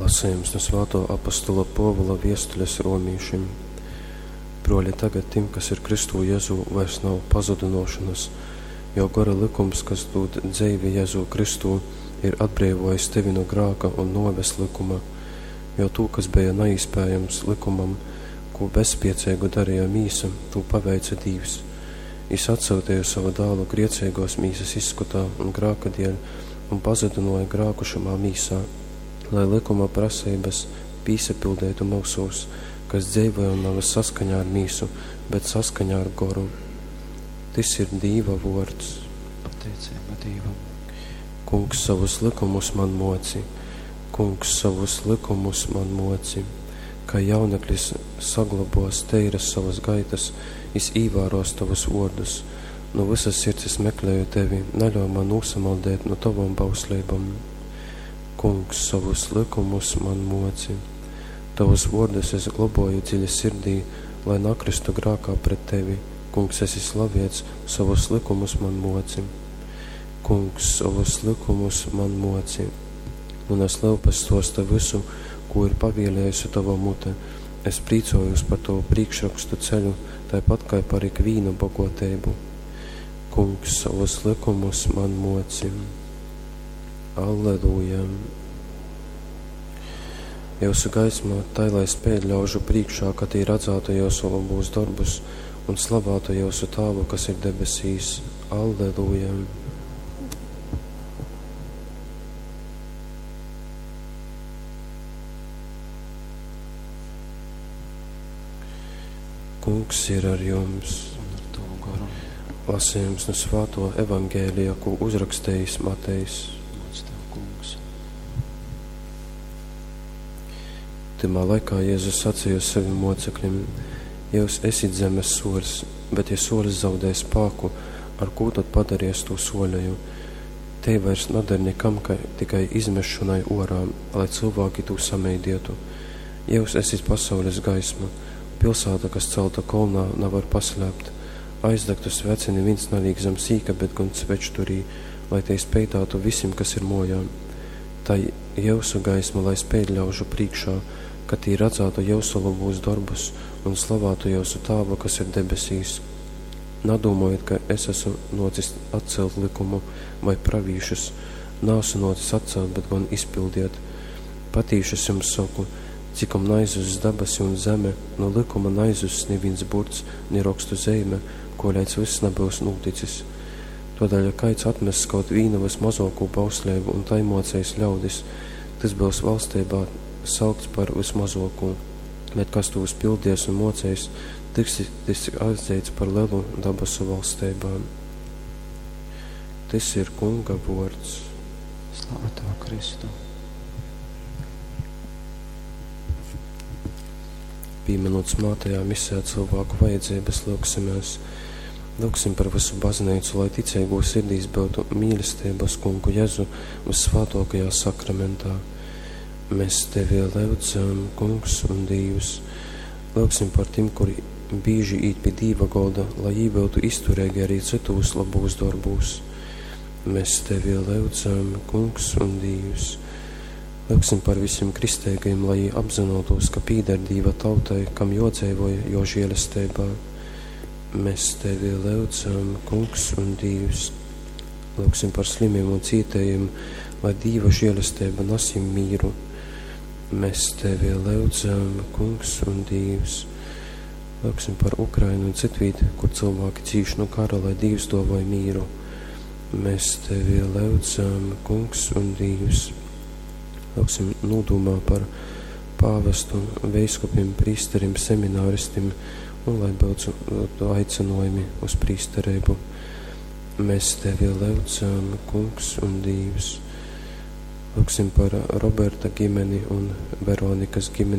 Lasejums nu svātō apostola Pōvula viestules romīšim. Brōli, tagad tim, kas ir Kristū Jezū, vairs nav pazudynōšonas, jo gora lykums, kas dūd dzeivi Jezū Kristū, ir atbreivōjis tevi nu grāka un nōves lykuma. Jo tū, kas beja naīspējams lykumam, kū bezspieceigu dareja mīsa, tū paveice Dīvs. Jys atsyuteja sovu Dālu grieceigōs mīsas izskotā un grāka dēļ un pazudynōja grāku šamā mīsā, lai lykuma praseibas pīsapildeitu myusūs, kas dzeivojam navys saskaņā ar mīsu, bet saskaņā ar goru. Tys ir Dīva vōrds. Pateiceiba Dīvam. Kungs, sovus lykumus man mōci, Kungs, sovus lykumus man mōci. Kai jauneklis saglobōs teiras sovas gaitas, jys īvārōs tovus vōrdus. Nu vysas sirds es mekleju tevi, naļauj man nūsamaldēt nu tovom bausleibom. Kungs, sovus lykumus man mōci. Tovus vōrdus es globoju dziļi sirdī, lai nakrystu grākā pret tevi. Kungs, esi slaviets, sovus lykumus man mōci. Kungs, sovus lykumus man mōci. Munas lyupas stōsta vysu, kū ir pavielējusi tova mute. Es prīcojūs par tovu prīkšrokstu ceļu, taipat kai par ikvīnu bogōteibu. Kungs, sovus lykumus man mōci. Alleluja! Jyusu gaisma tai lai speid ļaužu prīškā, ka tī radzātu jyusu lobūs dorbus un slavātu jyusu Tāvu, kas ir debesīs. Alleluja! Kungs ir ar jums. Un ar tavu goru. Lasījums nu svāto evaņgēlija, ko uzrakstījis Matejs. Gods tev, Kungs. Tymā laikā Jēzus sacīja saviem mocekļiem: Jūs esit zemes soļs, bet ja solis zaudē spāku, ar kū tad padaries to soļeju? Te vairs nader nekam, ka tikai izmešanai orā, lai cilvēki to sameidietu. Jūs esit pasaules gaisma. Pilsēta, kas celta kolnā, nevar paslēpt. Aizdegtu sveci neviens neliek zem sīka, bet gan svečturī, lai te speitātu visiem, kas ir mojā. Tai jausu gaisma, lai speid ļaužu priekšā, ka tī redzētu jausu labūs darbus un slavātu jausu Tāvu, kas ir debesīs. Nadūmojiet, ka es esmu nocis atcelt likumu vai pravīšus, nāsu nocis atcelt, bet gan izpildiet. Patīši es jums saku, cikom naizuss dabasi un zeme, no likuma naizuss neviens burts, ni rakstu zeime, koleidz viss nebūs noticis. Todēļ, ja kāds atmess kaut vīnu vismazāko bauslību un tai mocējis ļaudis, tas būs valstībā saukts par vismazāko, bet kas to uzpildies un mocējis, tiks tiks atzīts par lielu dabasu valstībā. Tas ir Kunga vārds. Slava tev, Kristu. Pieminot smātajā misē cilvēku vajadzības, lūgsimies. Lūgsim par visu baznīcu, lai ticīgo sirdīs būtu mīlestība uz Kungu Jēzu vissvētākajā sakramentā. Mēs tevi lūdzam, Kungs un Dievs. Lūgsim par tiem, kuri bieži īt pie Dīva golda, lai jī būtu izturīgi arī citos labūs darbūs. Mēs tevi lūdzam, Kungs un Dievs. Lūgsim par visiem kristīgajiem, lai jī apzinotos, ka pīder Dīva tautai, kam jodzīvoja jo žēlestībā. Mēs tevi lūdzam, Kungs un Dievs. Lūgsim par slimiem un cietējiem, lai Dīva žēlestība nes jiem mīru. Mēs tevi lūdzam, Kungs un Dievs. Lūgsim par Ukrainu un citvīt, kur cilvēki cīš no kara, lai Dievs dāvāj mīru. Mēs tevi lūdzam, Kungs un Dievs. Lūgsim nodomā par pāvestu, veiskupiem, prīsterim, semināristim un lai būtu aicinājumi uz prīsterību. Mēs tevi lūdzam, Kungs un Dievs. Lūgsim par Roberta ģimeni un Veronikas ģimeni.